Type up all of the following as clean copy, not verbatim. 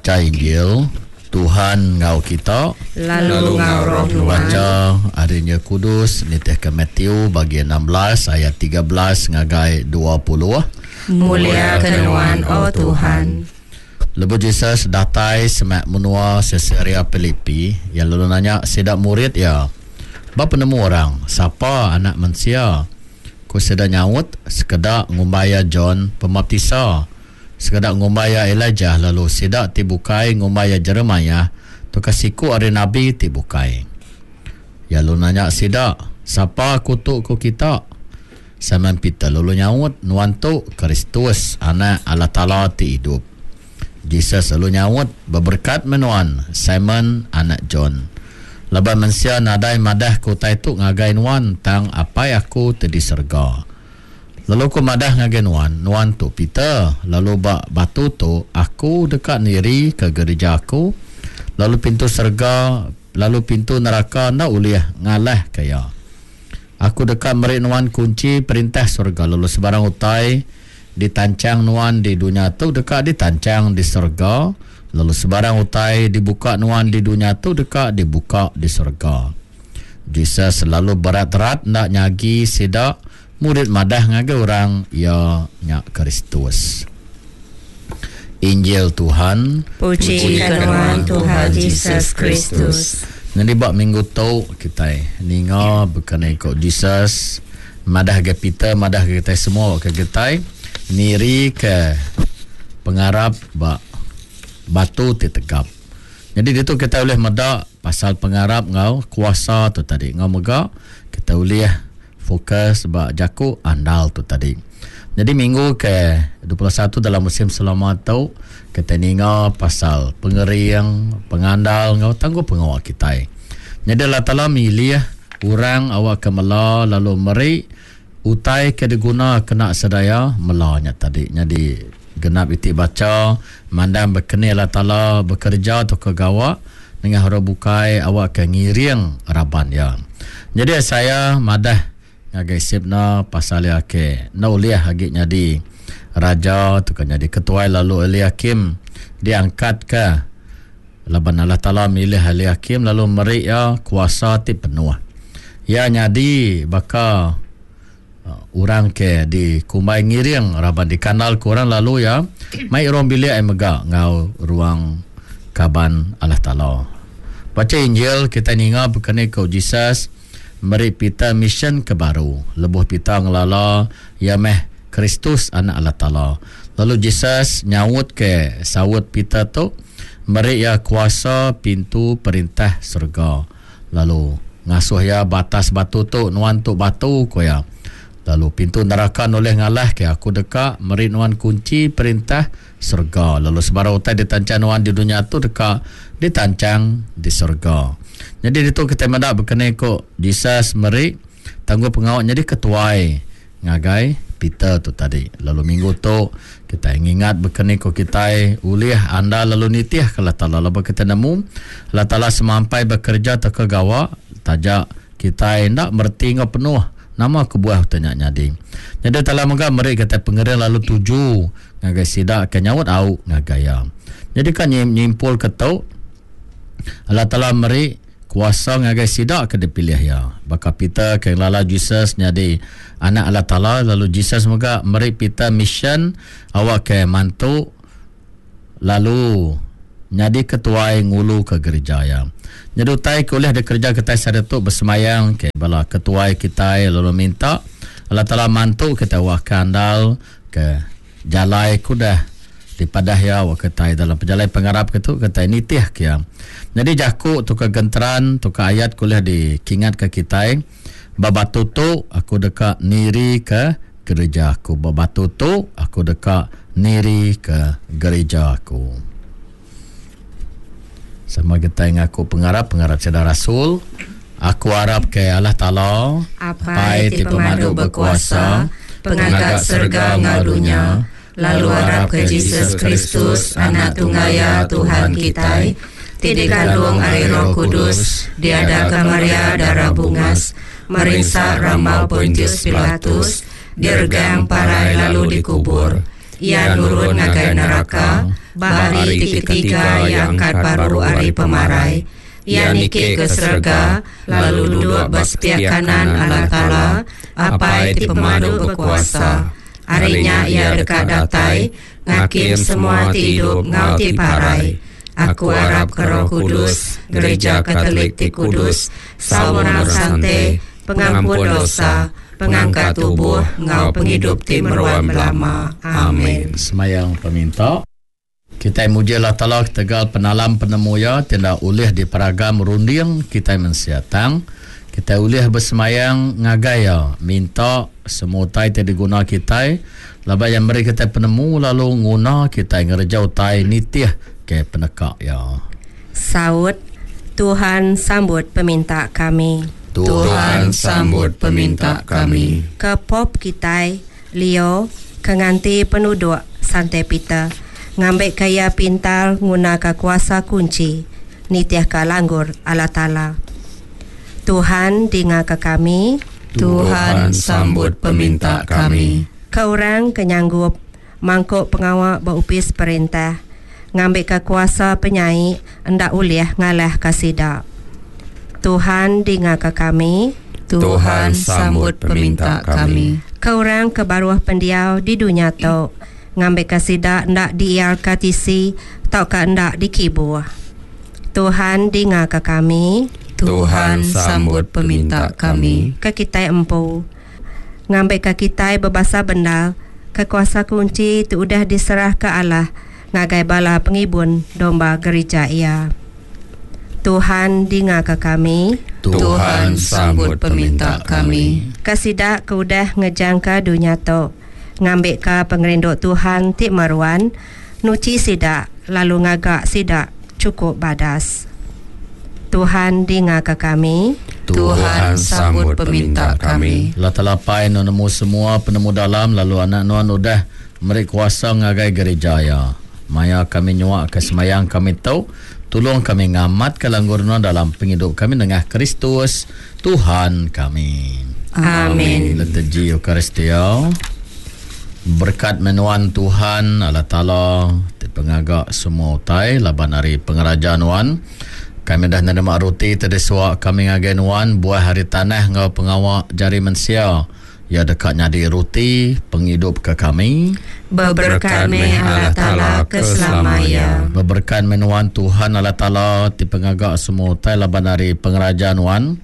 Bacha Injil, Tuhan enggau kita. Lalu enggau roh nuan. Bacha ari Injil Kudus nitihka Matthew bagi 16 ayat 13 ngagai 20. Mulia ke nuan, O Tuhan. Lebuh Jesus datai semak menua Siseria Pilipi, iya lalu nanya sida murid iya, Ba penemu orang, sapa Anak Mensia? Ku sida nyaut, Sekeda ngumbai iya John Pemaptisa, sekeda ngumbai iya Elijah lalu sida ti bukai ngumbai iya Jeremiah tauka siku ari nabi ti bukai. Iya lalu nanya sida, Sapa aku tu ku kita? Simon Peter lalu nyaut, Nuan tu Kristus, Anak Allah Taala ti idup. Jesus lalu nyaut, Beberekat meh nuan, Simon anak John. Laban mensia nadai madahka utai tu ngagai nuan tang Apai Aku ti di serega. Lalu Aku madah ngagai nuan, nuan tu Peter, lalu ba batu tu Aku deka nirika gerija Aku, lalu pintu serega lalu pintu neraka enda ulih ngalahka iya. Aku deka meri nuan kunchi Perintah serega lalu sebarang utai Ditanchang nuan di dunya tu deka ditanchang di serega, lalu sebarang utai dibuka nuan di dunya tu deka dibuka di serega. Jesus lalu berat-rat enda nyagi sida murid madah ngagai orang iya nya Kristus. Injil Tuhan. Puji ka nuan Tuhan Jesus Kristus. Nyadi ba minggu tu kitai ninga bekeni ko Jesus Madah ga Peter madah ga kitai semua ke kitai niri ke pengarap ba batu ti tegap. Nyadi ditu kitai ulih meda pasal pengarap enggau kuasa tu tadi enggau mega kitai ulih fokus ba jaku andal tu tadi. Nyadi minggu ke 21 dalam musim selama tu kitai ninga pasal pengering, pengandal enggau tanggung pengawa kitai. Nyadi Allah Taala milih orang awakka mela lalu meri utai ke diguna kena sedaya mela nya tadi. Nyadi genap iti bacha mandang bekeni Allah Taala bekereja tauka gawa nengah orang bukai awakka ngiring raban iya. Nyadi Isaiah madah ngagai Sebna pasal iya ke enda ulih agi nyadi raja tauka nyadi ketuai lalu Eliakim diangkatka. Laban Allah Taala milih Eliakim lalu meri iya kuasa ti penuh. Iya nyadi baka orang ke dikumbai ngiring raban dikandalka orang lalu iya mai ruang bilik iya mega enggau ruang kaban Allah Taala. Bacha Injil kitai ninga baka ni ku Jesus meri Peter misyen ke baru lebuh Peter ngelala iya meh Kristus Anak Allah Taala. Lalu Jesus nyaut ke saut Peter tu meri iya kuasa pintu perintah serega lalu ngasuh iya ba atas batu tu nuan tu batu ku iya. Lalu pintu neraka nulih ngalah ke aku deka meri nuan kunchi perintah serega lalu sebarang utai ditanchang nuan di dunya tu deka ditanchang di serega. Nyadi ditu kitai meda bekeni ku Jesus meri tanggung pengawa nyadi ketuai ngagai Peter tu tadi. Lalu minggu tu kitai ngingat bekeni ku kitai ulih andal lalu nitihka Allah Taala laban kitai nemu Allah Taala semampai bekereja tauka gawa taja kitai enda mereti enggau penuh nama kebuah utai nya nyadi. Nyadi Taala mega meri kitai pengering lalu tuju ngagai sida ke nyaut au ngagai iya. Nyadi ka nyimpulka tu Allah Taala meri kuasa ngagai sida ke dipilih iya. Baka Peter ke ngelala Jesus nyadi Anak Allah Taala lalu Jesus mega meri Peter misyen awakka mantu lalu nyadi ketuai nguluka gerija iya. Nyadi utai ke ulih dikereja kitai sehari tu besembayang ke bala ketuai kitai lalu minta Allah Taala mantu kitai awakka andal ke Jalai ke udah dipadah iya wak kitai dalam pejalai pengarap ke tu kitai nitih ke iya. Nyadi jaku tauka genteran tauka ayat ke ulih dikingatka kitai ba batu tu aku deka nirika gerija aku. Ba batu tu aku deka nirika gerija aku. Sama kitai ngaku pengarap pengarap sida rasul. Aku arap ke Allah Taala, Apai ti pemadu bekuasa, Pengaga serega enggau dunya, lalu arap ke Jesus Kristus, Anak tunggal Iya, Tuhan kitai, ti dikandung ari Roh Kudus, diadaka Maria dara bungas, merinsa rambau Pontius Pilatus, diregang parai lalu dikubur. Iya nurun ngagai neraka. Ba hari ti ketiga iya angkat baru ari pemarai. Iya niki ke serega, lalu duduk ba sepiak kanan Allah Taala, Apai ti Pemadu Bekuasa. Ari nya iya deka datai, ngakim semua ti idup enggau ti parai. Aku arapka Roh Kudus, Gereja Katolik ti kudus, saum orang sante, pengampun dosa, pengangkat tubuh enggau pengidup ti meruan belama. Amin. Semayang peminta. Kitai muji Allah Taala ketegal penalam penemu Iya ti enda ulih diperagam runding kitai mensia. Tang, kitai ulih besemayang ngagai Iya, minta semua utai ti diguna kitai laban Iya meri kitai penemu lalu nguna kitai ngereja utai nitih ke peneka Iya. Saut, Tuhan sambut peminta kami. Tuhan sambut peminta kami. Ke Pope kitai, Leo, ke nganti penuduk Sante Peter, ngambika iya pintar ngunaka kuasa kunchi nitihka langgur Allah Taala. Tuhan dingaka kami. Tuhan sambut peminta kami. Ke orang ke nyanggup mangku pengawa ba opis perintah, ngambika kuasa penyai enda ulih ngalahka sida. Tuhan dingaka kami. Tuhan sambut peminta kami. Ke orang ke baruh pendiau di dunya tu, ngambika sida enda diiarka tisi tauka enda dikibuh. Tuhan dingaka kami. Tuhan sambut peminta kami. Ke kitai empu, ngambika kitai bebasa bendar ke kuasa kunchi ti udah diserahka Allah ngagai bala pengibun domba gerija Iya. Tuhan dingaka kami. Tuhan sambut peminta kami. Ke sida ke udah ngejangka dunya tu, ngambika pengerindu Tuhan ti meruan nuchi sida lalu ngaga sida chukup badas. Tuhan dingaka kami. Tuhan sambut peminta kami. Allah Taala Apai nuan nemu semua penemu dalam lalu Anak nuan udah meri kuasa ngagai gerija Iya. Maya kami nyuaka semayang kami tu, tulung kami ngamatka langgur nuan dalam pengidup kami nengah Kristus, Tuhan kami. Amin. Liturgi Eucharistia. Berekat meh nuan Tuhan Allah Taala ti pengaga semua utai laban ari pengeraja nuan kami udah nerima roti ti disuak kami ngagai nuan buah ari tanah enggau pengawa jari mensia. Iya deka nyadi roti pengidup ke kami. Beberekat meh Allah Taala ke selama iya. Beberekat meh nuan Tuhan Allah Taala ti pengaga semua utai laban ari pengeraja nuan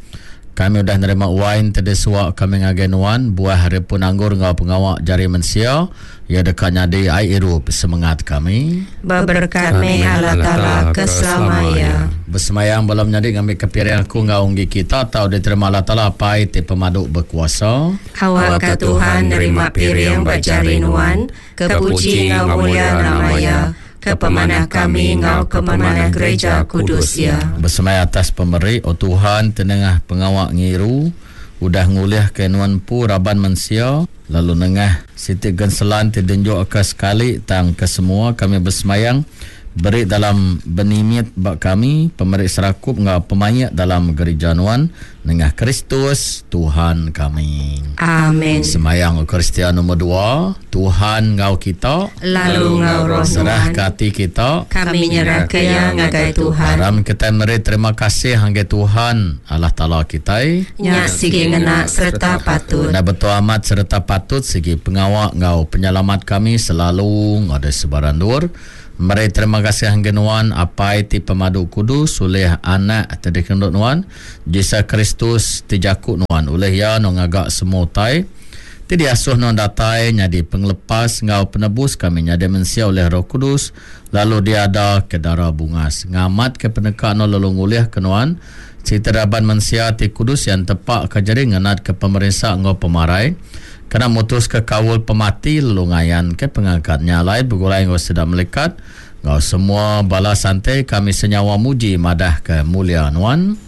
kami udah nerima wain ti disuak kami ngagai nuan buah ari pun anggur enggau pengawa jari mensia. Iya deka nyadi ai irup semengat kami. Beberekat meh Allah Taala ke selama iya. Besemayang bala menyadi ngambika piring aku enggau enggi kita tau diterima Allah Taala Apai ti pemadu bekuasa. Awakka Tuhan nerima piring ba jari nuan, ke puji enggau mulia nama Iya, ke pemanah kami enggau ke pemanah gereja kudus Iya. Besemaya atas pemeri, O Tuhan, ti nengah pengawa ngiru udah ngulihka nuan empu raban mensia, Lalu nengah siti genselan ti dienjukka sekali tang kesemua kami besemayang beri dalam benimit ba kami pemeri serakup enggau pemaik dalam gerija nuan nengah Kristus Tuhan kami. Amen. Semayang Eucharistia nomor dua, Tuhan enggau kita. Lalu enggau roh nuan. Serahka ati kita. Kami nyerahka iya ngagai Tuhan. Aram kitai meri terima kasih ngagai Tuhan Allah Taala kitai. Nya sigi ngena sereta patut. Enda betul amat sereta patut sigi pengawa enggau penyelamat kami selalu enggau di sebarang endur. Meri terima kasih ngagai nuan Apai ti pemadu kudus ulih Anak ti dikerindu nuan, Jesus Kristus ti jaku nuan ulih iya nuan ngaga semua utai ti diasuh nuan datai nyadi pengelepas enggau penebus kami nyadi mensia ulih Roh Kudus lalu diada ke dara bungas ngamatka peneka nuan lalu ngulihka nuan Siti raban mensia ti kudus iya entepaka jari ngenatka pemerinsa enggau pemarai kena mutuska kaul pemati lalu ngayanka pengangkat nya alai begulai enggau sida melikat enggau semua bala sante kami senyawa muji madahka mulia nuan.